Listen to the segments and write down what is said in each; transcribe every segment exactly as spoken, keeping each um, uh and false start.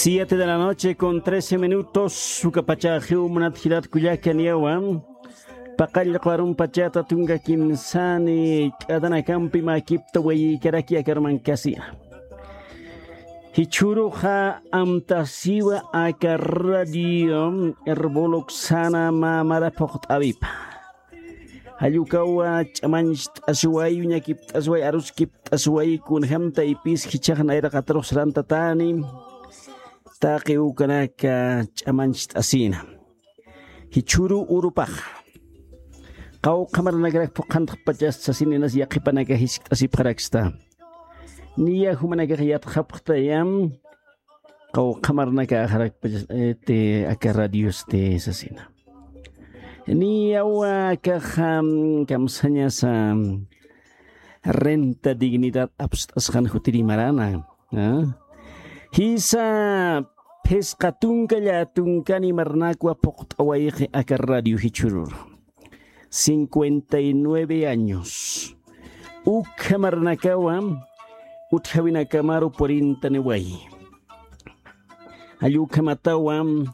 Siete de la noche con trece minutos, ukapachaxiw munat jilat kullaka niyawa. Paqallqu arumpachata tunka kimsani k'atanakampi makipta wayïkaraki aka armankasina. Jichhüruxa amtasiwa aka radio Erboloksana mamara phuqt'awipa. Jall ukawa ch'amañcht'asiwayi, uñakipt'asiwayi, aruskipt'asiwayi, kunjam taypis jichhax nayraqatarux sarantatani, taqi ukanaka ch'amañcht'asina. Jichhüru urupaxa. Qawqha marnakarak phuqhantxpachas sasininas yaqhipanaka jiskt'asipxaraksta. Niya jumanakax yatxapxtayam, qawqha marnakaxarakpachas, este, aka radiosti sasina. Niyawa akaxa, mm, kamsañasa, mm, renta dignidad apst'asxan jutiri marana. ¿Ah? Jisa phisqa tunka llätunkani marnakwa phuqt'awayxi aka radio jichhürur. Cincuenta y nueve años. Ukha marnakawa utjäwinakamaru cuarenta niwayi. Jall ukhamatawa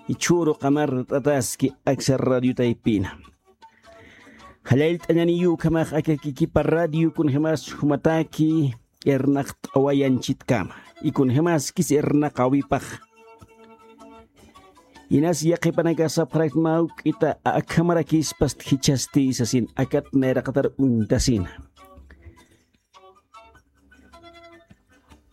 jichhüru qamart'ataski aksa radio taypina. Jallallt'añaniyi ukhamax aka kikipa radio kunjamas jumataki irnaqt'away anchitkama. Y kunjamaskis irnaqäwipax. Inas yaqhipanaka sapxarak mä juk'ita akhamarakïspasti jichhasti sasin akat nayraqatar uñtasina.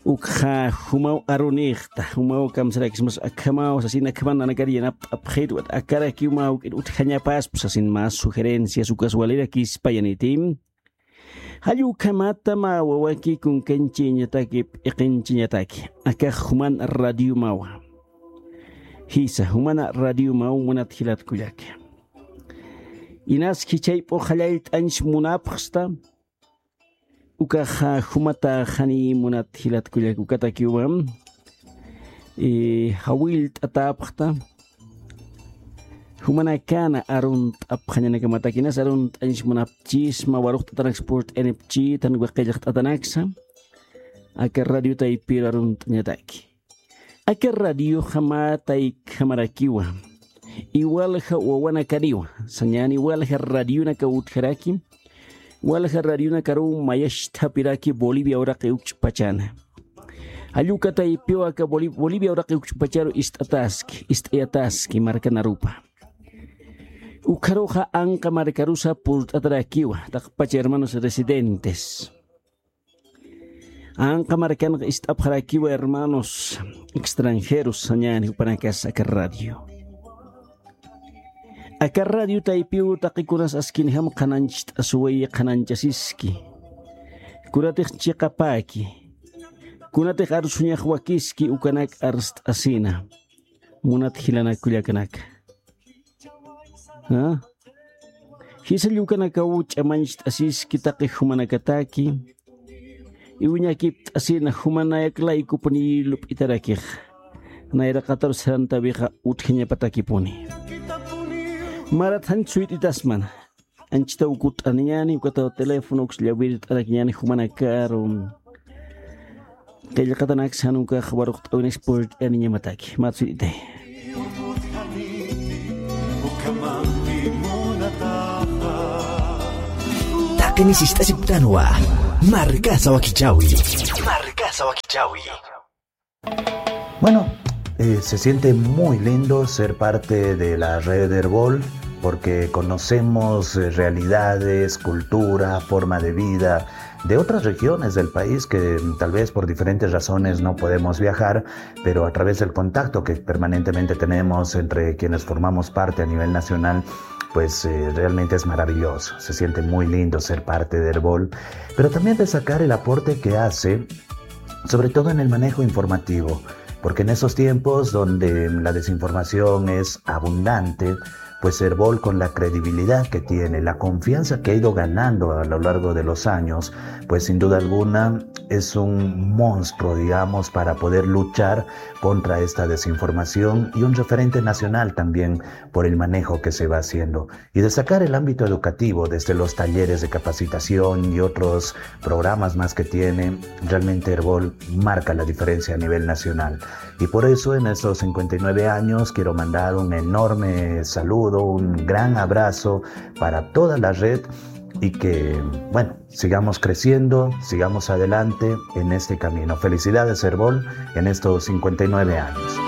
Ukxa jumaw arunïxta, jumaw kamsarakismas akhamaw sasin akhaman nanakar yanapt'apxit, akarakiw mä juk'it utjañapaspa sasin mä sugerencias ukas walirakispa yaniti. Jall ukhamata mä wawaki kunkanchiñataki, p'iqinchiñataki, akax juman radiomawa. Jisa, jumana radiomaw munat jilat kullaka. Inas jichhayp'u jallallt'añs munapxsta, ukaxa jumataxani munat jilat kullaka ukatakiwa, eh, jawillt'atäpxta, jumanakana arunt'apxañanakamataki, inas arunt'añs munapchisma, waruqt'atanaksa purt'anipchïtan, waqillqt'atanaksa, aka radio taypiru arunt'añataki. Aka radioxa mä taykhamarakiwa. Iwalja wawanakaniwa. Sañäni walja radionaka utjaraki. Walja radionakaruw mayachtapiraki Bolivia uraqi ukch'pachana. Jall uka taypiw aka Boli-, Bolivia uraqi ukch'pacharu ist'ataski, ist'ayataski markanarupa. Ukharuxa anqa markarusa purt'atarakiwa, taqpacha hermanos residentes. Anqa markanxa ist'apxarakiwa hermanos extranjeros sañäni jupanakas aka radio. Aka radio taypiw taqikunas askinjam qhanañcht'asuwayi, qhanañchasiski. Kunatix chiqapäki. Kunatix arsuñax wakiski ukanak arst'asina. Munat jilanak kullakanaka. ¿Ah? Jisa llukanakaw ch'amañcht'asiski taqi jumanakataki, iwñakipt'asina jumanayak laykupuni lup'itarakix, nayraqatar sarantawixa utjañapatakipuni. Marat janch suyt'itasmana, anchitaw kutt'aniñani, ukataw teléfono, uks llawirt'arakiñani jumanakaru. Qillqatanaksa jan ukax waruqt'awinaksa purt'aniñamataki. Matsuyt'itay. Taqini sist'asipktanwa. Markasa wakichäwi. Markasa wakichäwi. Bueno, eh, se siente muy lindo ser parte de la red Erbol, porque conocemos, eh, realidades, cultura, forma de vida de otras regiones del país que, mm, tal vez por diferentes razones no podemos viajar, pero a través del contacto que permanentemente tenemos entre quienes formamos parte a nivel nacional, pues, eh, realmente es maravilloso. Se siente muy lindo ser parte de Erbol, pero también destacar el aporte que hace, sobre todo en el manejo informativo, porque en esos tiempos donde la desinformación es abundante, Pues Erbol, con la credibilidad que tiene, la confianza que ha ido ganando a lo largo de los años, pues sin duda alguna es un monstruo, digamos, para poder luchar contra esta desinformación y un referente nacional también por el manejo que se va haciendo. Y destacar el ámbito educativo, desde los talleres de capacitación y otros programas más que tiene, realmente Erbol marca la diferencia a nivel nacional. Y por eso en estos cincuenta y nueve años quiero mandar un enorme saludo, un gran abrazo para toda la red y que, bueno, sigamos creciendo, sigamos adelante en este camino. Felicidades, Erbol, en estos cincuenta y nueve años.